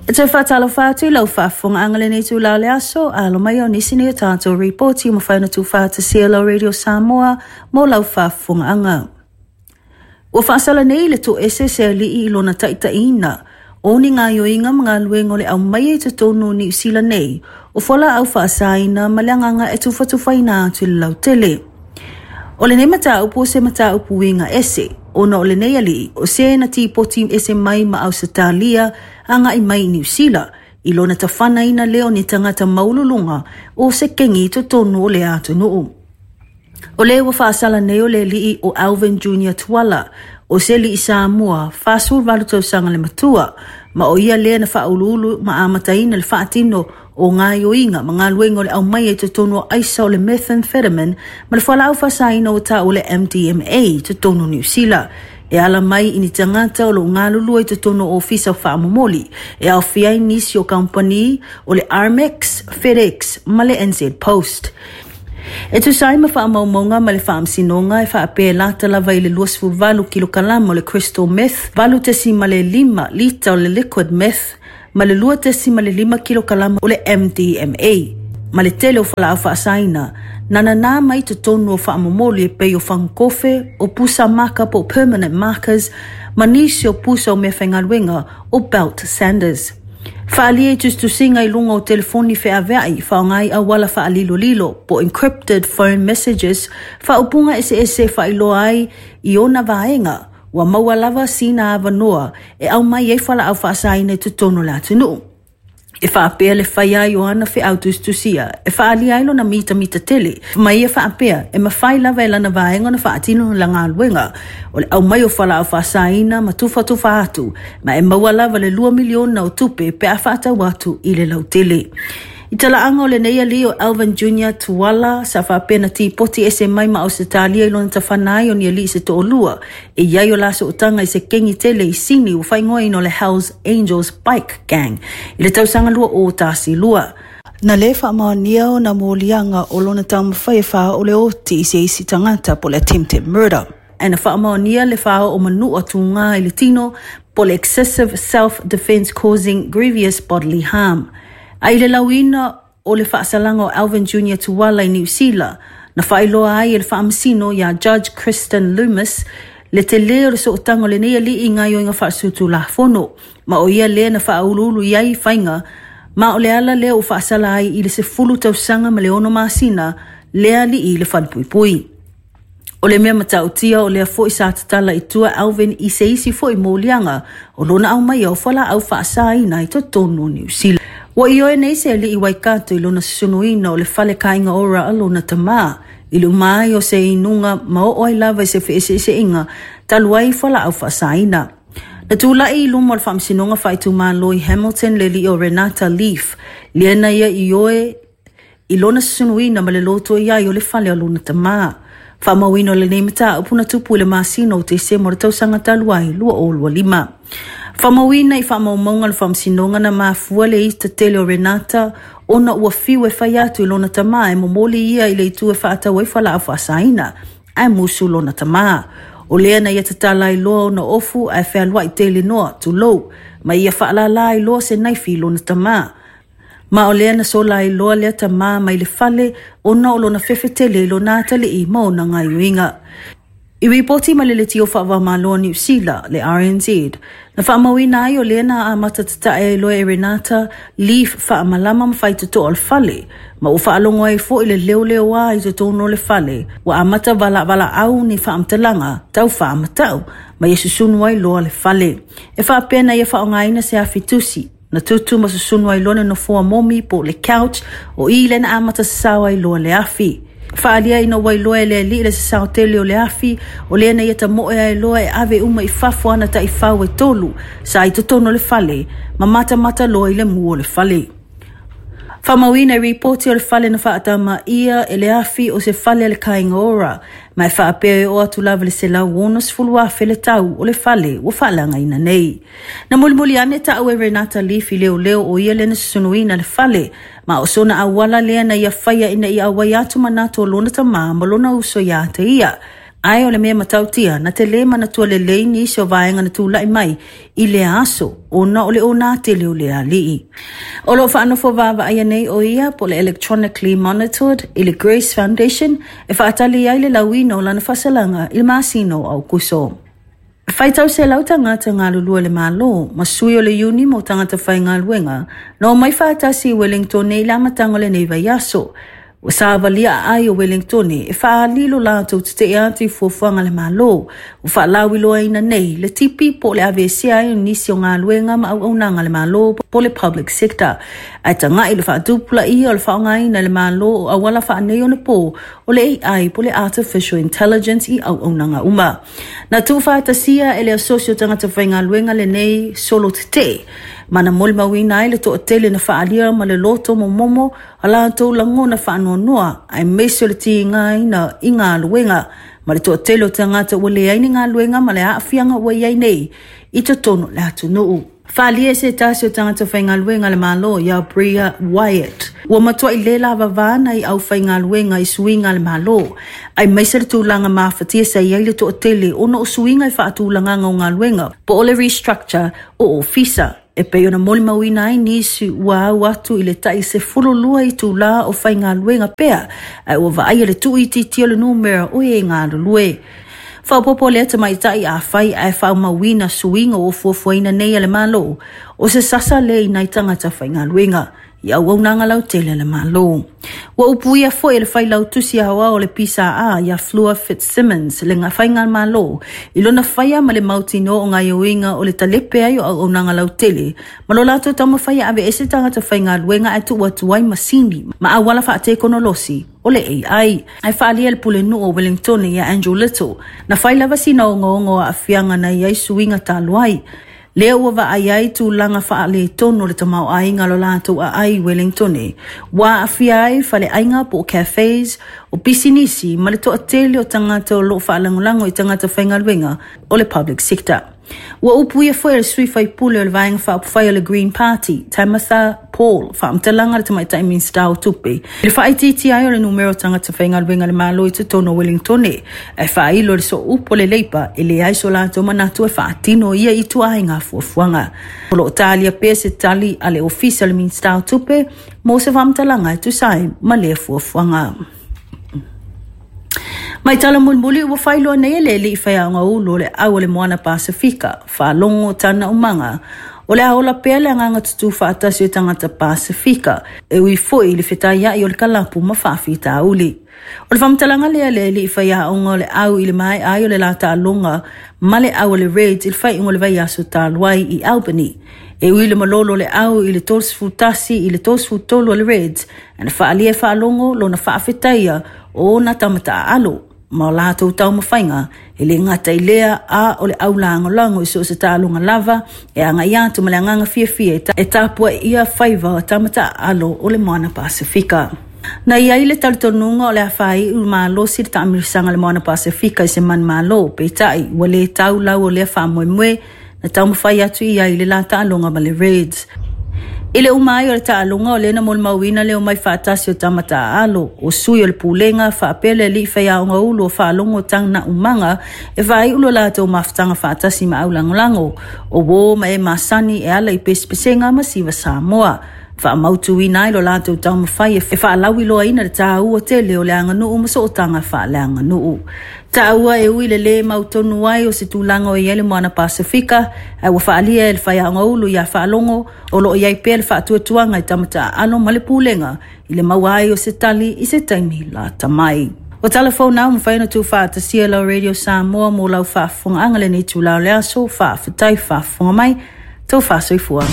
E toe faatalofa atu i lau faafofogaaga lenei itulā o le aso, alo mai o nisi nei o tatou ripoti ua mafai ona tuufaatasia lau Radio Samoa mo lau faafofogaaga. Ua faasala nei le toese se alii i lona taitaiina o ni gaoioiga ma galuega o le aumaia i totonu o Niu Sila nei o fualaau faasaina ma le agaga e tufatufaina atu i le lautele. O lenei mataupu o se mataupu uiga ese, ona o lenei alii o se na tipoti ese mai ma Ausetalia agai mai i Niu Sila, i lona tafanaina lea o ni tagata maualuluga o se kengi i totonu o lea atunuu. O le ua faasala nei o le alii o Alvin Junior Tuala, o se alii Samoa, 48 tausaga le matua, ma o ia lea na faauluulu ma amataina le faatino o gaoioiga ma galuega o le aumaia i totonu o aisa o le methamphetamine ma le fualaau faasaina ua taua le MDMA i totonu o Niu Sila e ala mai i ni tagata o lo o galulue i totonu o ofisa faamomoli e aofia ai nisi o kamupani o le Armex, FedEx ma le NZ Post. E tusa ai ma faamaumauga ma le faamasinoga e faapea e lata lava i le 28 kilokalama o le crystal meth, 8.5 lita o le liquid meth, ma le 2.5 kilokalama o le MDMA, ma le tele o fualaau faasaina, na nanā mai totonu o faamomoli e pei o fagukofe, o pusa maka po o permanent markers, ma nisi o pusa o meafaigaluega o belt sanders. Faaalia i tusitusiga i luga o telefoni feaveai faaaoga ai auala faalilolilo po o encrypted phone messages, faaupuga eseese e faailoa ai i ona vaega ua maua lava sina avanoa e aumai ai fualaau faasaina i totonu o le atunuu. E faapea le fai ai o ana feau tusitusia e faaalia ai lona mitamita tele ma ia faapea e mafai lava e lana vaega ona faatino la galuega o le aumai o fualaau faasaina ma tufatufa atu ma e maua lava le 2 miliona o tupe pe a faatau atu i le lautele. I talaaga o lenei alii o Alvin Junior Tuala sa faapea na tipoti ese mai ma Ausetalia i lona tafana ai o ni alii se toalua e i ai o la sootaga i se kengi tele i Sini ua faaigoaina o le Hells Angels Bike Gang i le tausaga 2012. Na le faamaonia ona moliaga o lona taumafai e faaoo le oti i se isi tagata po o le attempted murder. Ae na faamaonia le faaoo manua tugā i le tino po o le excessive self-defence causing grievous bodily harm. A i le lauina o le faasalaga o Alvin Junior Tuala i Niu Sila, na faailoa ai e le faamasino iā Judge Kristen Loomis le telē o le sootaga o lenei alii i gaoioiga faasutulafono, ma o ia lea na faauluulu i ai faiga, ma o le ala lea ua faasala ai i le 10 tausaga ma le 6 masina lea alii i le falepuipui. O le mea matautia o lea foi sa tatala i tua Alvin i se isi foi moliaga o lona aumaia o fualaau faasaina i totonu o Niu Sila. Ua ioe nei se alii Waikato i lona susunuina o le fale kāinga ora a lona tamā i le uma ai o se inuga ma oo ai lava i se feeseeseaiga talu ai fualaau faasaina. Na tulai i luma o le Faamasinoga Faaitumalo i Hamilton le alii o Renata Leaf, lea na ia ioe i lona susunuina ma le loto i ai o le fale o lona tamā. Faamauina o lenei mataupu na tupu i le masina o Tesema o le tausaga talu ai 2025. Faamauina i faamaumauga o le faamasinoga na mafua le ita tele o Renata ona ua fiu e fai atu i lona tamā e momoli ia i le itu e faatau ai fualaau faasaina, ae musu lona tamā. O lea na ia tatala ai loa ona ofu ae fealuai tele noa, tulou, ma ia faalālā ai loa se naifi i lona tamā. Ma o lea na sola ai loa lea tamā mai le fale ona o lona fefe tele i lona atalii ma ona gaoioiga. I ripoti mai le Leitio Faava-o-Malo o Niu Sila, le RNZ, na faamauina ai o lea na amata tatae ai loa e Renata Leaf faamalama ma faitotoa o le fale, ma ua faalogo ai foi le leoleoā i totonu o le fale, ua amata valaavalaau ni faamatalaga tau faamatau, ma ia susunu ai loa le fale. E faapea na ia faaaogaina se afi tusi, Na tutu ma susunu ai loa le nofoa momi po o le couch, o i lea na amata sasao ai loa le afi. Faaalia ina ua iloa e le alii le sasao tele o le afi, o lea na ia tamoe ai loa e ave uma i fafo ana taifau e tolu sa i totonu o le fale, ma matamata loa i le mu o le fale. Faamauina i ripoti o le fale na faatama ʻia e le afi o se fale a le Kāinga Ora, ma e faapea e oo atu lava i le $160,000 le tau o le fale ua faaleagaina nei. Na mulimuli ane taʻu e Renata Leaf i leoleo o ia lea na susunuina le fale, ma o sona auala lea na ia faia ina ia auai atu manatu o lona tamā ma lona uso iā te ia. Ae o le mea matautia, na te lē manatua lelei nisi o vaega na tula'i mai i lea aso ona o le ōnā tele o le alii. O lo o faanofo vaavaaia nei ʻo ia po o le electronically monitored i le Grace Foundation e faatali ai le lauina o lana faasalaga i le masina o Aokuso. Faitau selau tagata galulue le Malo ma sui o le iuni mo tagata faigaluega na omai faatasi i Wellingtone i le amataga o lenei vaiaso. Ua savalia aai o Wellingtone e faaali lo latou teteʻe atu i fuafuaga a le Malo ua faalauiloaina nei le tipi po o le aveesea ai o nisi o galuega ma auaunaga a le Malo po o le public sector ae taga'i le faatupulaia o le faaaogaina e le Malo o auala faaneionapo o le AI po o le Artificial Intelligence i auaunaga uma. Na tuufaatasia e le Asosi o Tagata Faigaluega lenei solo tetee ma na molimauina ai le toatele na faaalia ma le loto momomo a latou lagona faanoanoa aemaise o le tigaina i galuega ma le toatele o tagata ua leai ni galuega ma le aafiaga ua i ai nei i totonu o le atunuu. Faaalia e se tasi o tagata faigaluega a le Malo ia Bria Wyatt, ua matuai le lavavā nai aufaigaluega i suiga a le Malo, aemaise le tulaga mafatia sa i ai le toatele ona o suiga i faatulagaga o galuega po o le restructure o ofisa. E pei ona molimauina ai nisi ua au atu i le tai 12 itulā o faigaluega pea, ae ua vaaia le tuuitiitia o le numera o e galulue. Faaopoopo lea tamaitai afai ae faaumauina suiga ua fuafuaina nei e le Malo, o se sasa lea i nai tagata faigaluega i auaunaga lautele a le Malo. Ua upuia foi e le failautusi aoao o le PSA ia Fleur Fitzsimmons le faigamalo i lona faia ma le mautinoa o gaoioiga o le talepe ai o auaunaga lautele ma lo latou taumafai e aveese tagata faigaluega ae tuu atu ai masini ma auala faatekonolosi o le AI. Ae faaalia e le Pulenuu o Wellingtone ia Andrew Little, na fai lava sina ogaoga o aafiaga na i ai suiga talu ai. Lea ua vaai ai tulaga faaletonu o le tamaoaiga o lo latou aai i Wellingtone, ua aafia ai faleaiga po o cafes, o pisinisi ma le toatele o tagata o lo o faalagolago i tagata faigaluega o le public sector. Ua upuia foi e le sui faipule o le Vaega Faaupufai o le Green Party, Tamatha Paul, faamatalaga a le Tamaitai Minisita o Tupe, i le faaitiitia ai o le numera o tagata faigaluega a le Malo i totonu o Wellingtone, ae faailo i le sooupu o le Leipa e leai so latou manatu e faatino ia ituaiga fuafuaga. O lo o talia pea se tali a le Ofisa o le Minisita o Tupe mo se faamatalaga e tusa ai ma lea fuafuaga. Mai tala mulimuli ua faailoa nei e le alii faiaoga ulu o le au o le Moana Pasefika, Faalogo Tana Umaga, o le a ola pea le agaga tutū faatasi o tagata Pasefika, e ui foi i le fetaiaʻi o le kalapu ma faafitauli. O le faamatalaga lea a le alii faiaoga o le au i le maea ai o le la taaloga ma le au a le Reds i le faaiuga o le vaiaso talu ai i Albany. E ui le malolo o le au i le 31 i le 33 a le Reds, na faaalia e Faalogo lona faafetaia o ona tama taaalo ma o latou taumafaiga, e le gata i lea, a o le au lagolago i so o se taaloga lava e agai atu ma le agaga fiafia e tapuai faiva o tama taaalo o le Moana Pasefika. Na i ai le talitonuga o le a faaiu malosi le taamilisaga a le Moana Pasefika i se manumalo, peitai ua le tau lau o lea faamoemoe na taumafai atu i ai i le la taaloga ma le Reds. I le uma ai o le taaloga, o lea na molimauina le omai faatasi o tama taaalo, o sui o le pulega, faapea le alii faiaoga ulu o Faalogo Tana Umaga e faaiu lo latou mafutaga faatasi ma aulagolago, o uō ma e masani e ala i pesepesega ma siva Samoa. Faamautuina ai lo latou taumafai e faalauiloaina le tāua tele o le aganuu ma sootaga faaleaganuu. Taua e ui le lē mautonu ai o se tulaga o i ai le Moana Pasefika, ae ua faaalia e le faiaoga ulu ia Faalogo o lo o i ai pea le faatuatuaga i tama taaalo ma le pulega i le maua ai o se tali i se taimi lata mai. O tala fou na ua mafai ona tuufaatasia e lau Radio Samoa mo lau faafofogaaga lenei itula o le aso. Faafetai faafofoga mai. Tau faasoifua.